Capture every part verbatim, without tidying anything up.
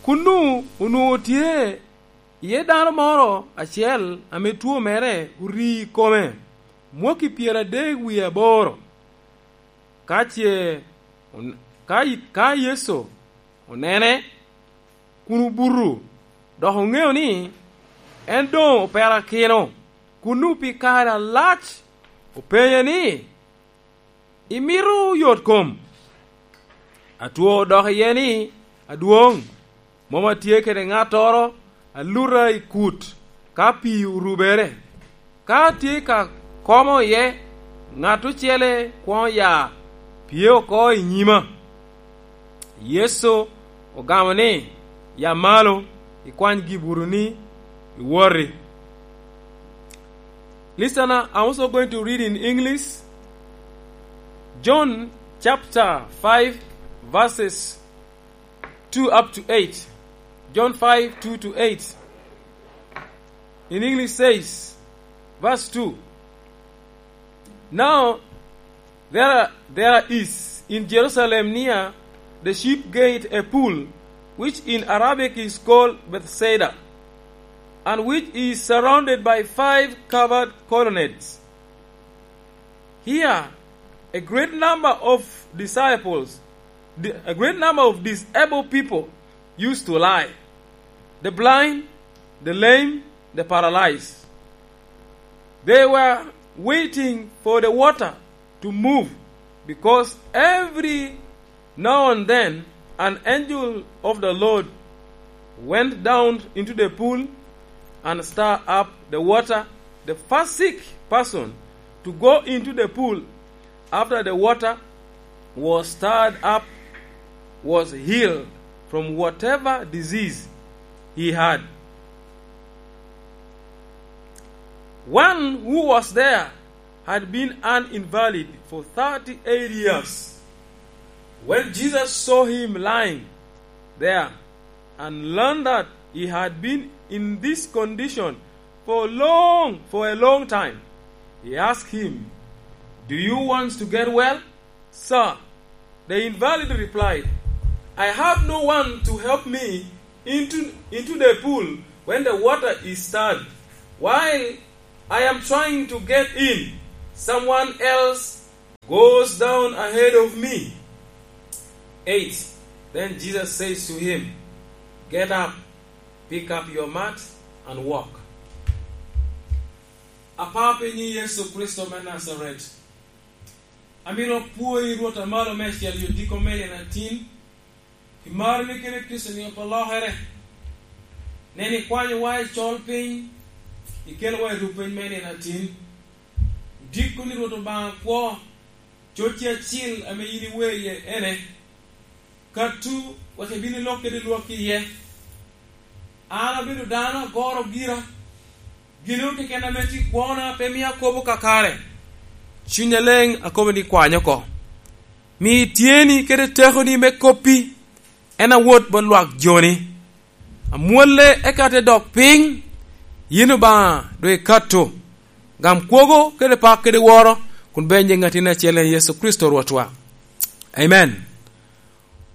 Kunnu onwoŋo tye iye dano moro acel ame two mere ori i kome mwaki pyeradek wie aboro. Ka ce on-, ka, ka Yecu onene kun obuto, dok oŋeo ni en doŋ operakino, kunnu pi kare alac openye ni, "Imito yot kom?" Atwo odok iye ni, "Adwoŋ, mom atye kede ŋattoro a luta i kut ka pii orubere. Ka atye ka komo iye, ŋat ocele kwoŋo ya pye oko i nyima." Yecu ogamo ni, "Ya malo, ikwany gibutoni, iwoti." Listen, I'm also going to read in English. John chapter five, verses two up to eight. John five, two to eight. In English says, verse two, "Now there, there is in Jerusalem near the sheep gate a pool, which in Arabic is called Bethsaida, and which is surrounded by five covered colonnades. Here a great number of disciples, di-, a great number of disabled people used to lie, the blind, the lame, the paralyzed. They were waiting for the water to move, because every now and then an angel of the Lord went down into the pool and stirred up the water. The first sick person to go into the pool after the water was stirred up was healed from whatever disease he had." One who was there had been an invalid for thirty-eight years. When Jesus saw him lying there and learned that he had been in this condition for long, for a long time, he asked him, "Do you want to get well?" "Sir," the invalid replied, "I have no one to help me into, into the pool when the water is stirred. While I am trying to get in, someone else goes down ahead of me." Eight. Then Jesus says to him, "Get up, pick up your mat, and walk." Apa pe nyi Yecu Kricito me Najaret. Amito apwoyi Rwot a malo meicel i odiko me nino atin, pi marri kede Kricito ni opolokere. Nen ikwanyowa i col piny, ikelowa i rupeny me nino atin. Odiko ni Rwot Obaŋa kwo, cocci acil ame yin iwe iye ene. Katu, wek ibin ilok kede lwak iye. An abedo dano agoro gira. Gin keken ame tye kwona pe mio akobo kakare. Cunya leŋ akobo ni kwany oko. Mi tyeni kede tekoni me koppi en awot bot lwak joni. Amwolle eka te dok piny, yin Obaŋa doŋ ikato. Gam kwogo kede pak kede woro, kun benye ŋattini acel en Yecu Kricito Rwotwa. Amen.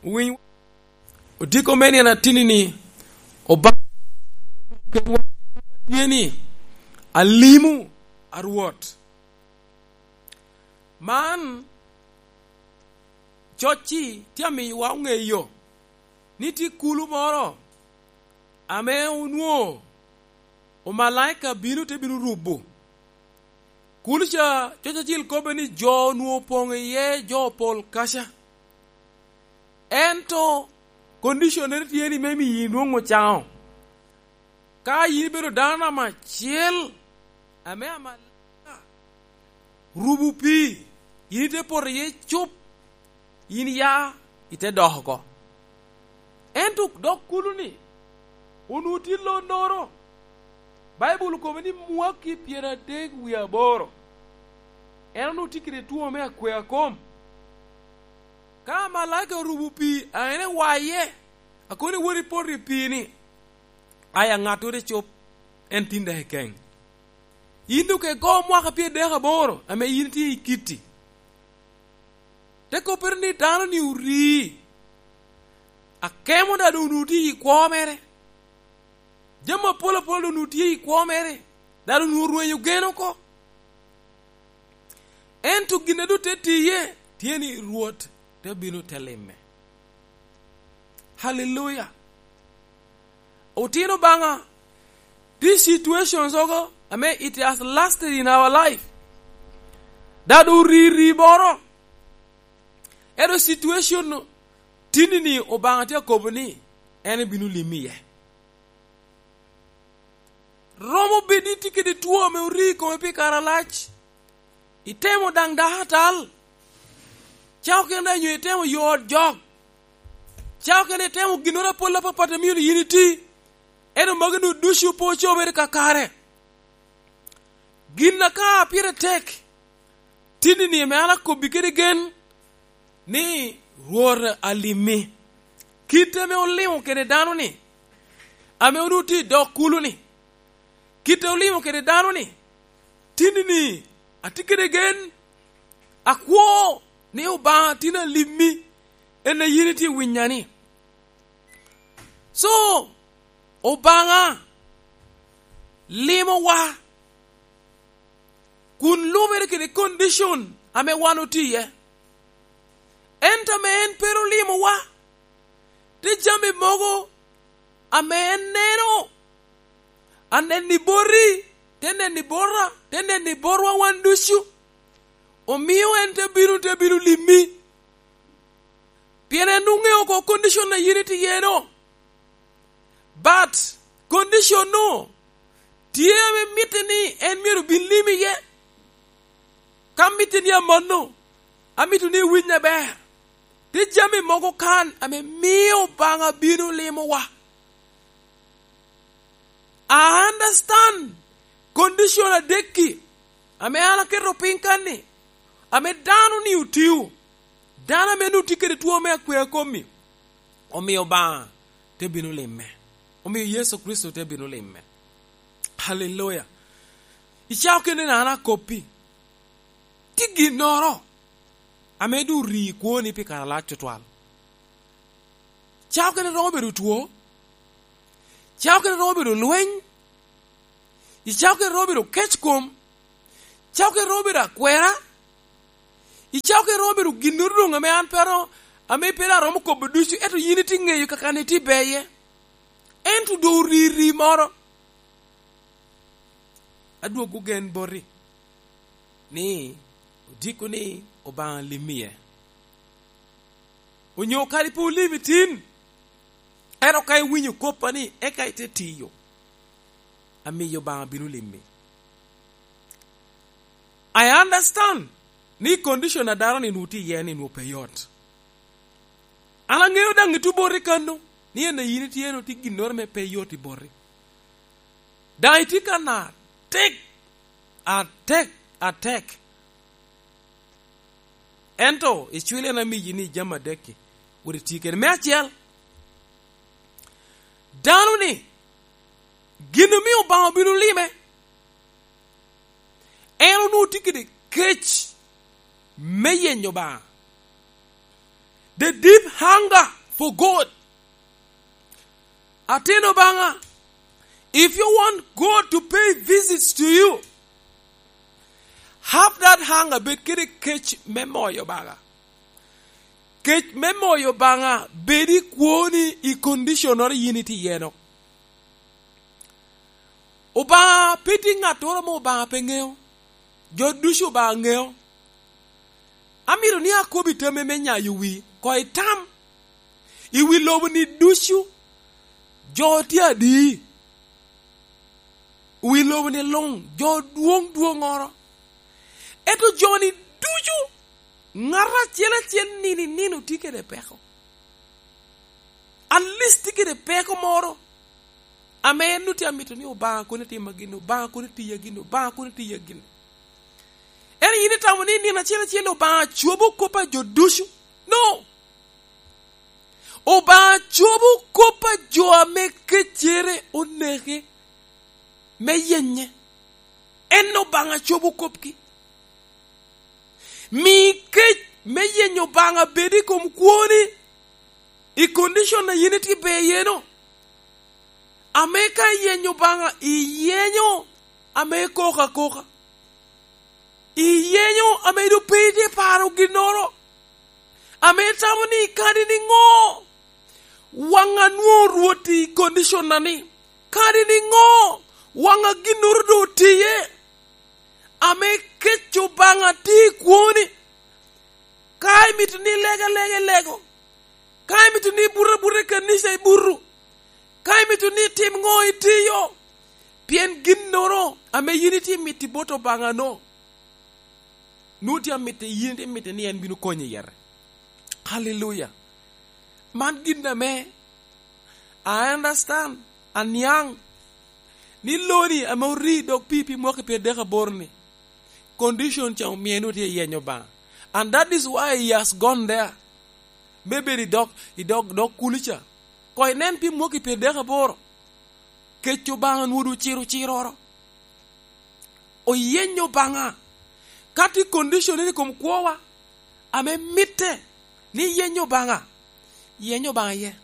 Owiny. Odiko me nino atin ni, Obaŋa tye ni, "Alimu, a Rwot." Man cocci tye amiyowa oŋeyo ni tye kulu moro ame onwoŋo omalaika bino te bino rubo. Kulo ca, coc acil kobbe ni jo onwoŋo opoŋ iye, jo opol kaca. Ento conditionere tye ni me miyi inwoŋ ocaŋo. Ka yin ibedo dano namba acel ame amalaika rubo pii, yin ite poto iye cup, yin ya ite dok oko. Ento dok kulu-ni, onwoŋo tye lonnoro. Baibul okobo ni mwaki pyeradek wie aboro, en onwoŋo tye kede two me akwea kom. Ka amalaika orubo pii a en ewaye, a kono iwot ipoto i pii-ni, aya ŋattoro ecup, en tin dok ekeŋ. Yin doŋ ke go mwaka pyeradek aboro ame yin itye i kitti. Te koppere ni dano-ni orii. Akemo daŋ onwoŋo tye i kwo mere. Jami apol apol onwoŋo tye i kwo mere. Daŋ onwoŋo orwenyo gen oko. Ento gin a doŋ te tiye tye ni Rwot te bino te lime. Haleluya. Otino Obaŋa, these situations ogo, ame it has lasted in our life. Daŋ oriri moro. Ento situation no, tini ni Obaŋa tye akobo ni en ebino limi iye. Romo bedo ni tye kede two ame ori i kome pi kare alac. Itemo daŋ dako atal. Cawa kene daŋ nyo itemo yo ot jok. Cawa kene itemo ginnoro apol apapat a myero yin iti. Ento magi-nu ducu pe ocobere kakare. Gin a ka pire tek, tini ni ame an akobbi kede gen, ni Rwot alimmi. Kit ame olimo kede dano-ni, ame onwoŋo tye i dog kulu-ni, kit ame olimo kede dano-ni, tini ni atye kede gen, akwo ni Obaŋa tin alimmi, en a yin itye winya-ni. So, Obaŋa limowa kun lubere kede condition ame wan otye iye. Ento ame en pe ru limowa, te jami mogo ame en neno, aneni boti, te neni bota, te neni botwa wan ducu, omio en te bino, te bino limi. Pien en oŋeo oko condition a yin itye iye-no. But condition-nu tye ame mitte ni en myero bin limi iye. Ka mitte ni amanno, amito ni iwiny aber. Tye jami mogo kan ame mio Obaŋa bino limowa. I understand condition adek-ki ame an aketo piny kan-ni, ame dano-ni otio, dano ame nwoŋo tye kede two me akwea komi, omio Obaŋa te bino lime, omio Yecu Kricito te bino lime. Haleluya! I cawa kene-ni an akoppi, tye ginnoro ame doŋ ori i kwoni pi kare alac tutwal. Cawa kene romo bedo two, cawa kene romo bedo lweny, i cawa kene romo bedo kec kom, cawa kene romo bedo akwera, i cawa kene romo bedo ginnoro doŋ ame an pe aromo, ame pe aromo kobo ducu, ento yin itye ŋeyo kaka-ni tye beye. Ento doŋ ori ri moro. Adwogo gen boti ni odiko ni Obaŋa lim iye. Onyo kadi pe olim itin, ento ka iwinyo koppa ni eka ite tiyo, amiyo Obaŋa bino limi. I understand ni condition a dano-ni nwoŋo tye iye ni nwoŋo pe yot. An aŋeo daŋ ituo boti kano, ni en a yin itye-nu tye ginnoro ame pe yot i boti. Daŋ itye kan atek, atek, atek. Ento icwil en amiyi ni jami adek-ki, wot iti kede. Me acel, dano-ni, gin omio Obaŋa obino lime, en onwoŋo tye kede kec me yenyo Obaŋa. The deep hunger for God. Atin Obaŋa, if you want God to pay visits to you, have that hunger, bed kede kec me moyo Obaŋa. Kec me moyo Obaŋa bed i kwoni i condition-noro yin itye iye-no. Obaŋa pe tye ŋattoro ame Obaŋa pe ŋeo. Jo ducu Obaŋa ŋeo. Amito ni akobi tammi me nyayo wi, koŋ itam. I wi lobo-ni ducu, jo tye adi? Wi lobo-ni luŋ, jo dwoŋ dwoŋŋoro. Ento jo-ni ducu, ŋat acel acel nino i nino tye kede peko. At least tye kede peko moro ame en nwoŋo tye amito ni Obaŋa kono itima gin, Obaŋa kono itiya gin, Obaŋa kono itiya gin. Ento yin itamo ni nino acel acel Obaŋa cobo kop a jo ducu? No. Obaŋa cobo kop a jo ame keccere oneke me yenye. En Obaŋa cobo kopgi. Mi kec me yenyo Obaŋa bed i kom kwoni. I condition a yin itye ber iye-nu, ame ka iyenyo Obaŋa, iyenyo ame koko akoka, iyenyo ame doŋ pe itye paro ginnoro, ame itamo ni kadi niŋo waŋ anwoŋo Rwot i condition-na ni, kadi niŋo waŋ a ginnoro doŋ otiye, ame kec Obaŋa tye i kwoni. Ka imito ni ileg alega, ilego. Ka imito ni ibut abuta i kanica, ibuto. Ka imito ni itim ŋo, itiyo. Pien ginnoro ame yin itye mito i bot Obaŋa-nu, nwoŋo tye amito, yin itye mito ni en bino konyi i yete. Haleluya. Man gin ame I understand, aniaŋ, ni loni ame ori dog pii pi mwaki pyeradek aboro-ni, condition ca omio en otye iyenyo Obaŋa. And that is why he has gone there. Me bedo i dog, i dog, dog kulu ca. Koŋ inen pi mwaki pyeradek aboro. Kec Obaŋa nwodo ciro ciroro. Oyenyo Obaŋa. Ka tye condition i kom kwowa, ame mitte ni yenyo Obaŋa, yenyo Obaŋa iye.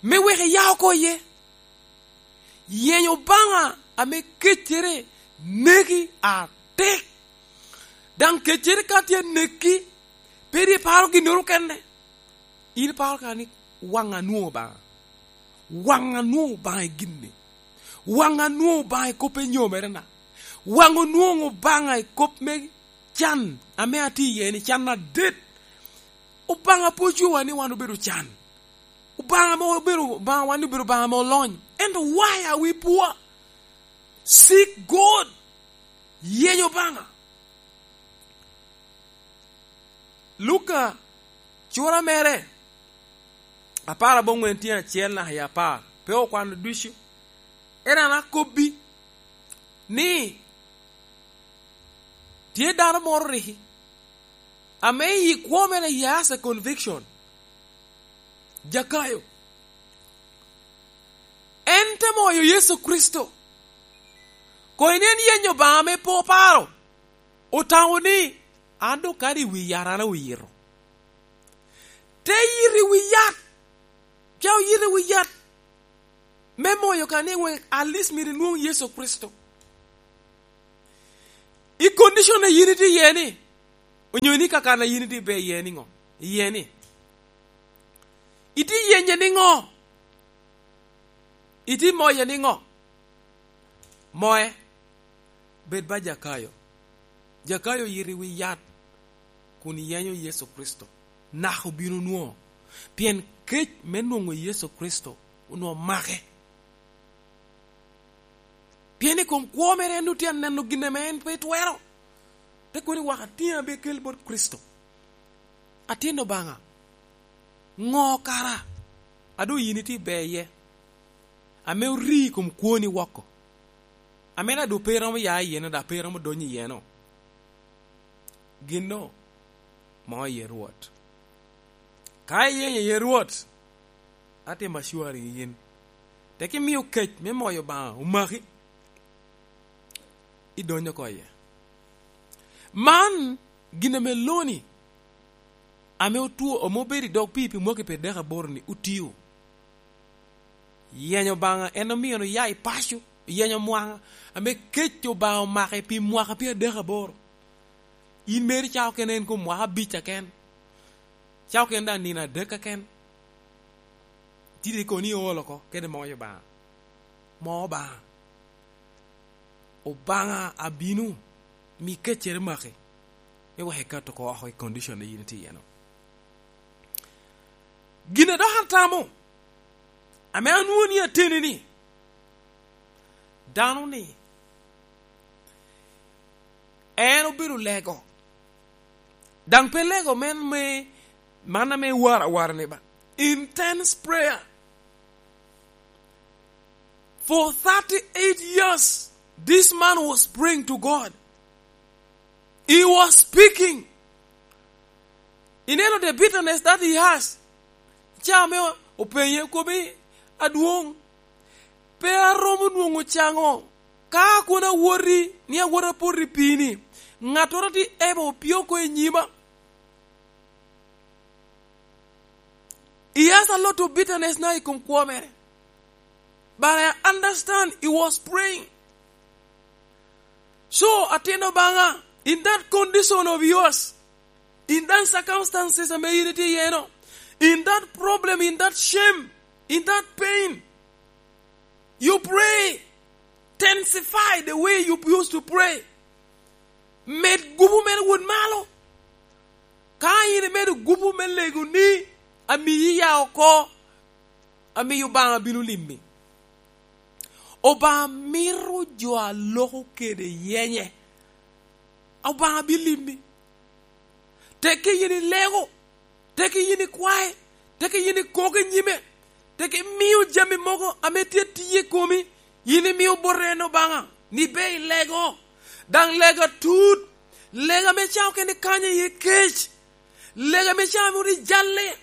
Me wek iya oko iye. Yenyo Obaŋa ame keccere neki atek. Daŋ keccere ka tye neki, pe ri paro ginnoro kene. In iparo ka ni, "Waŋ anwoŋo Obaŋa. Waŋ anwoŋo Obaŋa i gin-ni. Waŋ anwoŋo Obaŋa i kop enyomerena. Waŋ onwoŋo Obaŋa i kop me can ame atye iye ni, can adet." Obaŋa pe ocwewa ni wan obedo can. Obaŋa ame obedo Obaŋa, wan obedo Obaŋa ame olony. Ento why are we poor? Seek God. Yeny Obaŋa. Luka, cura mere, apar aboŋwen tye acel naka i apar, pe okwano ducu. En an akobbi ni tye dano moro riki, ame i kwo mere he has a conviction. Jakayo. En te moyo Yecu Kricito. Koŋ inen yenyo Obaŋa ame pe oparo. Otamo ni, "An doŋ kadi i wi yat an oyito." Te yito i wi yat. Ca oyito i wi yat. Me moyo ka ni wek at least myero inwoŋ Yecu Kricito. I condition a yin itye iye ni, onyo ni kakan a yin itye ibe iye niŋo? Iye ni, itye yenye niŋo? Itye moye niŋo? Moye, bed ba Jakayo. Jakayo oyito i wi yat kun yenyo Yecu Kricito. Naka obino nwoŋo. Pien kec me nwoŋo Yecu Kricito onwoŋo make. Pien i kom kwo mere en otye aneno gin ame en pe twero. Te kono ni, "Wak atiŋa be kel bot Kricito." Atin Obaŋa, ŋo kara a doŋ yin itye ibe iye, ame ori i kom kwoni woko, ame daŋ doŋ pe iromo ya iye-no, daŋ pe iromo donyo iye-no? Ginno mo iye Rwot. Ka iyenyo iye Rwot, atimo assuring yin, tek imio kec me moyo Obaŋa omaki, idonyo oko iye. Man gin ame loni, ame otwo, ame obedo i dog pii pi mwaki pi dek aboro-ni, otio. Yenyo Obaŋa en omio oya i paco, yenyo mwaŋa, ame kec Obaŋa omake pi mwaka pi adek aboro. In meri ca okene en kom mwaka abic aken. Ca okene daŋ nino adek aken. Tidi kono ni ool oko, kede moyo Obaŋa. Mo Obaŋa. Obaŋa abino, mi keccere maki, me wek ikat oko oko i condition a yin itye iye-no. Gin a dok atamo, ame anwoŋo ni ateni ni, dano-ni, en obedo lego. Daŋ pe lego men me, man ame wara wara ni ba. Intense prayer. For thirty-eight years, this man was praying to God. He was speaking. Ineno the bitterness that he has. Ca ame openye, okobo ni, "Adwoŋ, pe aromo nwoŋo caŋo ka kono awoti, ni awot apoto i pii-ni. Ŋattoro tye ebo opio oko i nyima." He has a lot of bitterness now i kom kwo mere. But I understand he was praying. So, atin Obaŋa, in that condition of yours, in that circumstances ame in itye iye no, in that problem, in that shame, in that pain, you pray, intensify the way you used to pray. Med gupu mere wot malo. Ka in imedo gupu me lego ni, amiyi ya oko, amiyo Obaŋa bino limmi. Obaŋa mito jo a loko kede yenye. Obaŋa bi limmi. Teke yin ilego, teke yin ikwae, teke yin ikok i nyime, teke imio jami mogo ame tye tiye i komi, yin imio bote en Obaŋa, ni be ilego. Daŋ lego atut, lego ame ca okene kanya iye kec, lego ame ca moro ijalle,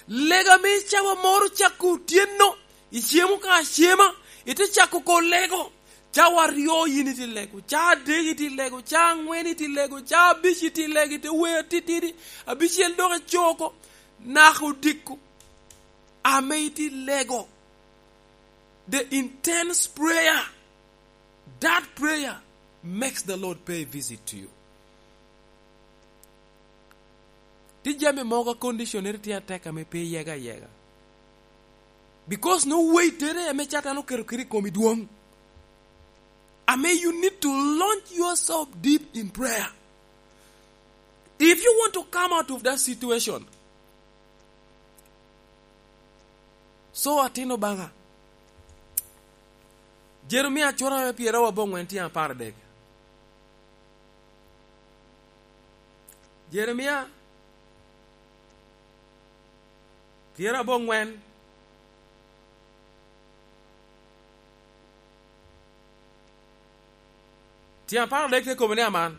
lego ame ca wa moro cako otyeno, icemo ka acema, ite cako ko lego. Cawa aryo yin iti lego, ca adek iti lego, ca aŋwen iti lego, ca abic iti lego, ite wer titidi, abicel dok icoko, naka odiko. Ame iti lego. The intense prayer, that prayer makes the Lord pay a visit to you. Ti jami mogo a conditionere tye atek ame pe yega yega. Because no weight tere ame Catan oketo kede i komi dwong. Ame you need to launch yourself deep in prayer. If you want to come out of that situation, so atin Obaŋa. Jeremia cura me pyeraryo aboŋwen tye apar dek. Jeremia pyeraryo aboŋwen. Tyen apar adek te kobo ni aman,